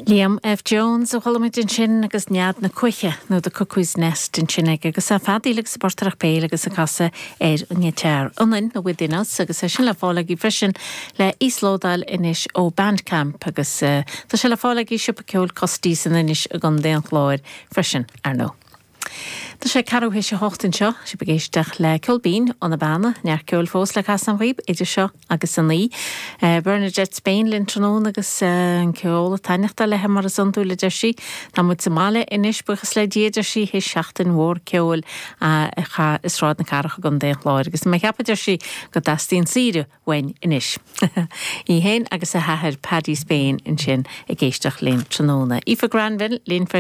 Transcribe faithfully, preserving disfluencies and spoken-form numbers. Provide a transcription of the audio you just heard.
Liam F. Jones a chuala muid ansin agus nead na cuiche nó the Cuckoo's Nest ansin aige agus a feadaíl agus portaireacht béil agus ag casadh ar an ngiotár ionainn nó within us agus é sin le fáil agaibh freisin le íoslódáil anois ó Bandcamp agus uh, tá sé le fáil agaibh i siopa ceoil Costy san Inis i gContae an Chláir freisin ar ndóigh. Tá sé ceathrú théis a hocht anseo sibh ag éisteacht le Ceol Binn ó na Beanna neart ceoil fós le casadh daoibh idir seo agus a naoi. Uh, Bernadette Spain linn tráthnóna agus uh, an ceol ag taitneamh léi mar is iondúil a deir sí Tá muid sa mbaile anois buíochas le Dia deir sí théis seachtain mhór ceoil uh, cha i Sráid na Cathrach i gContae an Chláir agus mé cheapadh deir sí go dteastaíonn saoire uainn anois. Í féin agus a hathair Paddy Spain ansin ag éisteacht linn tráthnóna. Aoife Granville linn